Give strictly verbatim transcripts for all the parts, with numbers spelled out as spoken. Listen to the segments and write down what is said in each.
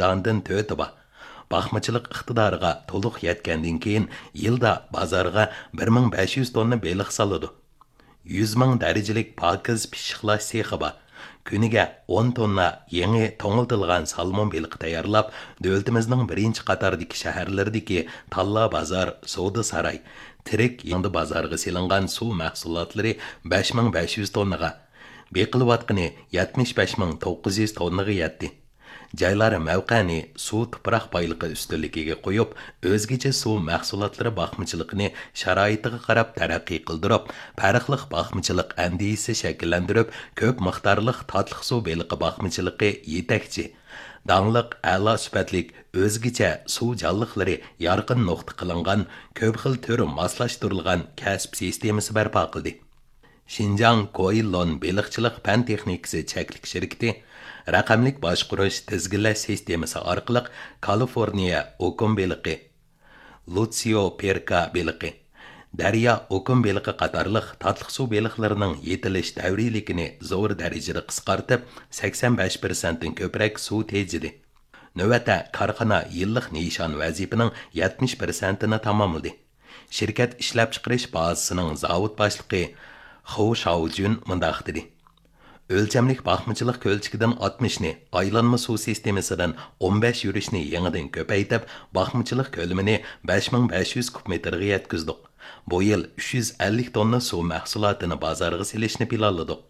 دانىدىن تۆتى بار. باقمىچىلىق ئىقتىدارىغا تولۇق يەتكەندىن كېيىن، يىلدا بازارغا بىر مىڭ بەش يۈز توننا بېلىق سالىدۇ. يۈز مىڭ دەرىجىلىك پاكىز پىششىقلاش سېخى بار. كۈنىگە ئون توننا يېڭى توڭلىتىلغان سالمون بېلىقى تەييارلاپ، دۆلىتىمىزنىڭ بىرىنچى قاتاردىكى شەھەرلىرىدىكى تاللا بازار، سودا ساراي، تىرىك يېڭىدا بازارغا سېلىنغان سۇ مەھسۇلاتلىرى بەش مىڭ بەش يۈز توننىغا، بېقىلىۋاتقىنى يەتمىش بەش مىڭ توققۇز يۈز توننىغا يەتتى. جايلار مەۋقەنى سۇ تۇپراق بايلىقى ئۈستۈنلۈكىگە قويۇپ، ئۆزگىچە سۇ مەھسۇلاتلىرى باقمىچىلىقىنى شارائىتىغا قاراپ تەرەققىي قىلدۇرۇپ، پەرقلىق باقمىچىلىق ئەندىزىسى شەكىللەندۈرۈپ، كۆپ مىقدارلىق تاتلىق سۇ بېلىقى باقمىچىلىقى يېتەكچى. داڭلىق، ئەلا سۈپەتلىك، ئۆزگىچە سۇ جانلىقلىرى يارقىن نۇقتا قىلىنغان كۆپ خىل تۈر ماسلاشتۇرۇلغان كەسىپ سىستېمىسى بەرپا قىلدى. شىنجاڭ كوئىلون بېلىقچىلىق پەن تېخنىكىسى چەكلىك شىركىتى رەقەملىك باشقۇرۇش تىزگىنلەش سىستېمىسى ئارقىلىق كالىفورنىيە ئوكۇن بېلىقى، لۇتسىيو پېركا بېلىقى، دەريا ئوكۇن بېلىقى قاتارلىق تاتلىق سۇ بېلىقلىرىنىڭ يېتىلىش دەۋرىيلىكىنى زور دەرىجىدە قىسقارتىپ، سەكسەن بەش پىرسەنتتىن كۆپرەك سۇ تېجىدى. نۆۋەتتە كارخانا يىللىق نىشان ۋەزىپىنىڭ يەتمىش پىرسەنتىنى تاماملىدى. شىركەت ئىشلەپچىقىرىش بازىسىنىڭ زاۋۇت باشلىقى خۇ شاۋجۈن مۇنداق دېدى: ئۆلچەملىك باقمىچىلىق كۆلچىكىدىن ئاتمىشنى، ئايلانما سۇ سىستېمىسىدىن ئون بەش يۈرۈشنى يېڭىدىن كۆپەيتىپ، باقمىچىلىق كۆلىمىنى بەش مىڭ بەش يۈز كۇب مېتىرغا يەتكۈزدۇق. بۇ يىل ئۈچ يۈز ئەللىك توننا سۇ مەھسۇلاتىنى بازارغا سېلىشنى پىلانلىدۇق.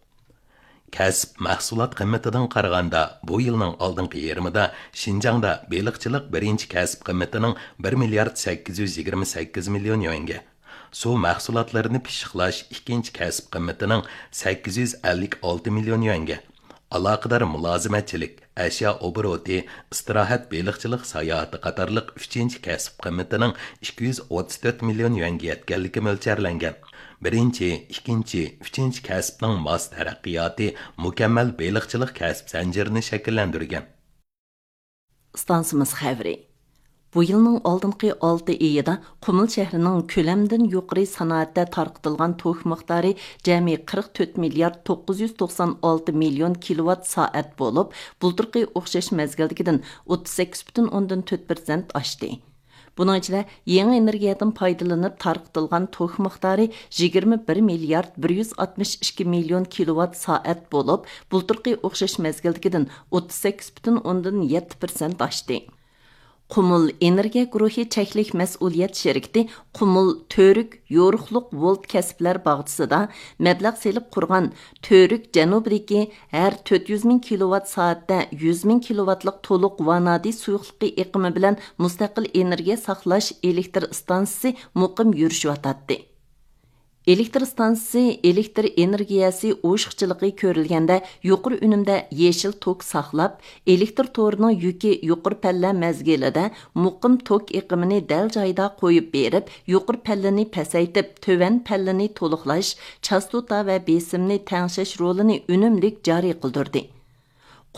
كەسىپ مەھسۇلات قىممىتىدىن قارىغاندا، بۇ يىلنىڭ ئالدىنقى يېرىمىدا شىنجاڭدا بېلىقچىلىق بىرىنچى كەسىپ قىممىتىنىڭ بىر مىليارد سەككىز يۈز يىگىرمە سەككىز مىليون يۈەنگە، سۇ مەھسۇلاتلىرىنى پىششىقلاش ئىككىنچى كەسىپ قىممىتىنىڭ سەككىز يۈز ئەللىك ئالتە مىليون يۈەنگە، ئالاقىدار مۇلازىمەتچىلىك، ئەشيا ئوبوروتى، ئىستىراھەت، بېلىقچىلىق ساياھىتى قاتارلىق ئۈچىنچى كەسىپ قىممىتىنىڭ ئىككى يۈز ئوتتۇز تۆت مىليون يۈەنگە يەتكەنلىكى مۆلچەرلەنگەن. بىرىنچى، ئىككىنچى، ئۈچىنچى كەسىپنىڭ ماس تەرەققىياتى مۇكەممەل بېلىقچىلىق كەسىپ زەنجىرىنى شەكىللەندۈرگەن. ئىستانسىمىز خەۋىرى. بۇ يىلنىڭ ئالدىنقى ئالتە ئېيىدا قۇمۇل شەھىرىنىڭ كۆلەمدىن يۇقىرى سانائەتتە تارقىتىلغان توك مىقدارى جەمئىي قىرىق تۆت مىليارد توققۇز يۈز توقسان ئالتە مىليون كىلوۋات سائەت بولۇپ، بۇلتۇرقى ئوخشاش مەزگىلدىكىدىن ئوتتۇز سەككىز پۈتۈن ئوندىن تۆت پىرسەنت ئاشتى. بۇنىڭ ئىچىدە يېڭى ئېنېرگىيەدىن پايدىلىنىپ تارقىتىلغان توك مىقدارى يىگىرمە بىر مىليارد بىر يۈز ئاتمىش ئىككى مىليون كىلوۋات سائەت بولۇپ، بۇلتۇرقى ئوخشاش مەزگىلدىكىدىن ئوتتۇز سەككىز پۈتۈن ئوندىن يەتتە پىرسەنت ئاشتى. قۇمۇل ئېنېرگىيە گۇرۇھى چەكلىك مەسئۇلىيەت شىركىتى قۇمۇل تۈرك يورۇقلۇق ۋولت كەسىپلەر باغچىسىدا مەبلەغ سېلىپ قۇرغان تۈرك جەنۇبىدىكى ھەر تۆت يۈز مىڭ كىلوۋات سائەتتە يۈز مىڭ كىلوۋاتلىق تولۇق ۋانادى سۇيۇقلۇقى ئېقىمى بىلەن مۇستەقىل ئېنېرگىيە ساقلاش ئېلېكتر ئىستانسىسى مۇقىم يۈرۈشۈۋاتاتتى. ئېلېكتر ئىستانسىسى ئېلېكتر ئېنېرگىيەسى ئوشۇقچىلىقى كۆرۈلگەندە يۇقىرى ئۈنۈمدە يېشىل توك ساقلاپ، ئېلېكتر تورىنىڭ يۈكى يۇقىرى پەللە مەزگىلىدە مۇقىم توك ئېقىمىنى دەل جايىدا قويۇپ بېرىپ، يۇقىرى پەللىنى پەسەيتىپ، تۆۋەن پەللىنى تولۇقلاش، چاستوتا ۋە بېسىمنى تەڭشەش رولىنى ئۈنۈملۈك جارى قىلدۇردى.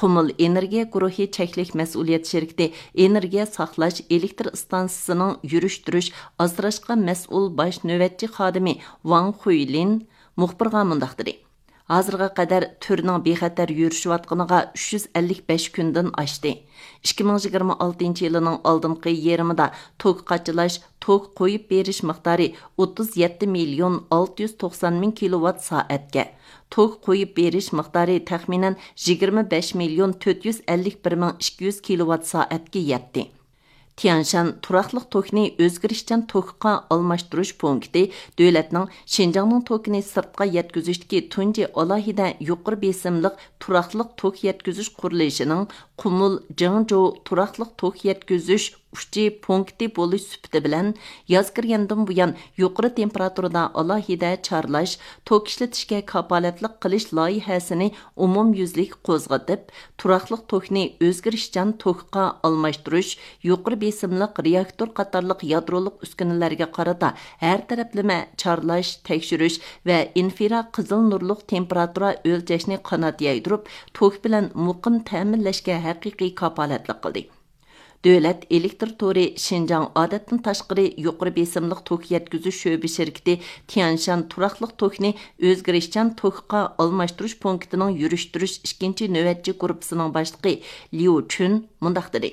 قۇمۇل ئېنېرگىيە گۇرۇھى چەكلىك مەسئۇلىيەت شىركىتى ئېنېرگىيە ساقلاش ئېلېكتر ئىستانسىسىنىڭ يۈرۈشتۈرۈش ئاسراشقا مەسئۇل باش نۆۋەتچى خادىمى ۋاڭ خۇيلىن مۇخبىرغا مۇنداق دېدى: ھازىرغا قەدەر تۈرنىڭ بىخەتەر يۈرۈشۈۋاتقىنىغا ئۈچ يۈز ئەللىك بەش كۈندىن ئاشتى. ئىككى مىڭ يىگىرمە ئالتىنچى يىلىنىڭ ئالدىنقى يېرىمىدا توك قاچىلاش، توك قويۇپ بېرىش مىقدارى ئوتتۇز يەتتە مىليون ئالتە يۈز توقسان مىڭ كىلوۋات سائەتكە، توك قويۇپ بېرىش مىقدارى تەخمىنەن يىگىرمە بەش مىليون تۆت يۈز ئەللىك بىر مىڭ ئىككى يۈز كىلوۋات سائەتكە يەتتى. تيەنشان تۇراقلىق توكنى ئۆزگىرىشچان توكقا ئالماشتۇرۇش پونكىتى دۆلەتنىڭ شىنجاڭنىڭ توكىنى سىرتقا يەتكۈزۈشتىكى تۇنجى ئالاھىدە يۇقىرى بېسىملىق تۇراقلىق توك يەتكۈزۈش قۇرۇلۇشىنىڭ قۇمۇل جېڭجۇ تۇراقلىق توك يەتكۈزۈش ئۇچى پونكىتى بولۇش سۈپىتى بىلەن، ياز كىرگەندىن بۇيان يۇقىرى تېمپېراتۇرىدا ئالاھىدە چارلاش، توك ئىشلىتىشكە كاپالەتلىك قىلىش لايىھەسىنى ئومۇميۈزلۈك قوزغىتىپ، تۇراقلىق توكنى ئۆزگىرىشچان توكقا ئالماشتۇرۇش، يۇقىرى بېسىملىق رېئاكتور قاتارلىق يادرولۇق ئۈسكۈنىلەرگە قارىتا ھەر تەرەپلىمە چارلاش، تەكشۈرۈش ۋە ئىنفرا قىزىل نۇرلۇق تېمپېراتۇرا ئۆلچەشنى قانات يايدۇرۇپ، توك بىلەن مۇقىم تەمىنلەشكە ھەقىقىي كاپالەتلىك قىلدى. دۆلەت ئېلېكتر تورى شىنجاڭ ئادەتتىن تاشقىرى يۇقىرى بېسىملىق توك يەتكۈزۈش شۆبە شىركىتى تيەنشان تۇراقلىق توكنى ئۆزگىرىشچان توكقا ئالماشتۇرۇش پونكىتىنىڭ يۈرۈشتۈرۈش ئىككىنچى نۆۋەتچى گۇرۇپپىسىنىڭ باشلىقى ليۇ چۈن مۇنداق دېدى: